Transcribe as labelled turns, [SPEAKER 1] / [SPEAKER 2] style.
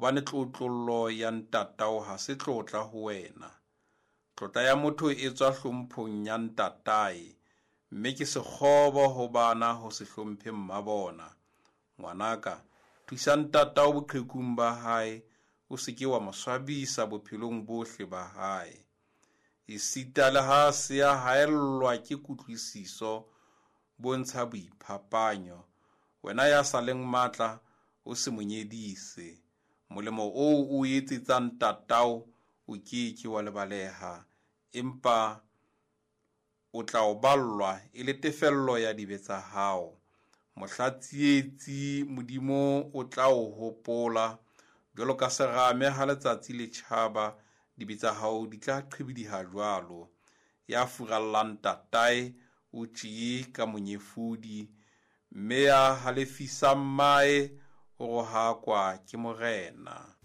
[SPEAKER 1] Hobane tlotlollo ya ntatao ha se tlotla ho wena. Tlotla ya motho e tswa hlomphong ya ntatae, mme ke sekgobo ho bana ho se hlomphe mmabona. Ngwanaka, thusa ntatao boqhekung ba hae, o se ke wa mo swabisa bophelong bohle ba hae. Esita le ha a se a haellwa ke kutlwisiso, bontsha boiphapanyo. Wena ya sa leng matla, o se mo nyedise. Molemo oo o etsetsang ntatao o ke ke wa lebaleha, empa o tla o ballwa e le tefello ya dibe tsa hao. Mohla tsietsi Modimo o tla o hopola, jwalo ka serame ha letsatsi le tjhaba, dibe tsa hao di tla qhibidiha jwalo. Ya furallang ntatae o tjee ka monyefodi, mme ya halefisang mmae o rohakwa ke Morena.